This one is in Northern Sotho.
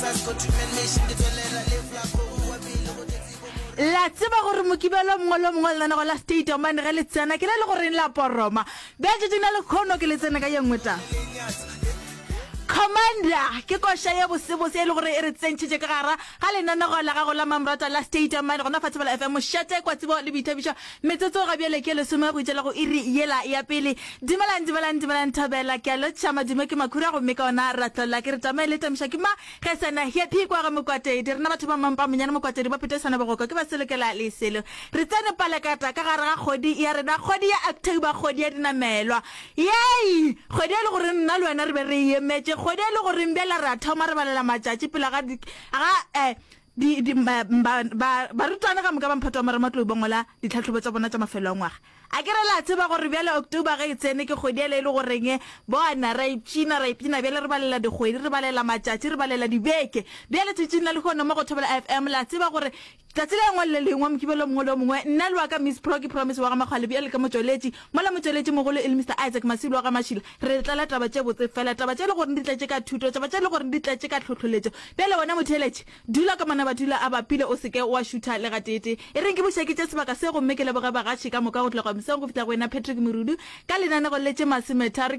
La tseba gore Mokibelo mongwe le mongwe lenanego la State of Mind ge le tsena ke le le goreng la poroma. Bja tšatšing la lekhono ke le tsene ka ye nngwe taba. Commander ke koša ye bosebose e le gore e re tsentšhitše ka gara ga lenanego la gago la mamrata la State of Mind gona fa Thobela FM mošate kwa tsebo le boithabišo. Metsotso ga bjale ke lesome go itšela go iri yela ya pele. Dumelang dumelang dumelang Thobela ke a lotšha madume ke makhura gomme ka ona ra tlola ke re tamae le tamiša ke ma Ge sena happy kwa ga Mokwatedi, rena batho ba Mampa Monyane Mokwatedi ba Phete Swana Bogoka ke ba selokela le selo. Re tsene palekata ka gare ga kgwedi ya rena, kgwedi ya October, kgwedi ya dinamelwa. Yei! Kgwedi e le gore nna le wena re be re e emetše, kgwedi e le goreng bjale re a thoma re balela matšatši pele ga di, ga eh, di, di, ba, ba, ba, barutwana ka moka ba mphato wa marematlou ba ngwala ditlhahlobo tša bona tša mafelo a ngwaga. A ke re la tseba gore bjale October ge e tsene ke kgwedi yela e le goreng bona ra ipshina, ra ipshina bjale re balela dikgwedi, re balela matšatši, re balela dibeke. Bjale tšatšing la lehono mo go Thobela FM la tseba gore tšatši le lengwe le le lengwe, Mokibelo o mongwe le o mongwe, nna le wa ka Miss Pro ke Promise wa ga Makgwale bjale ka motšweletši, mola motšweletši mogolo e le Mister Isaac Masilo wa ga Mašila, re tlala taba tše botse fela, taba tše e le goreng di tletše ka thuto, taba tše e le goreng di tletše ka tlhohloletšo. Bjale wena motheeletši, Dula ka manabadula a bapile o se ke wa šutha le gateetee. E reng ke buše ke tše sebaka se gomme ke leboge bagatši ka moka go tloga mesong go fihla go wena Patrick Morudu ka lenanego le tše masometharo.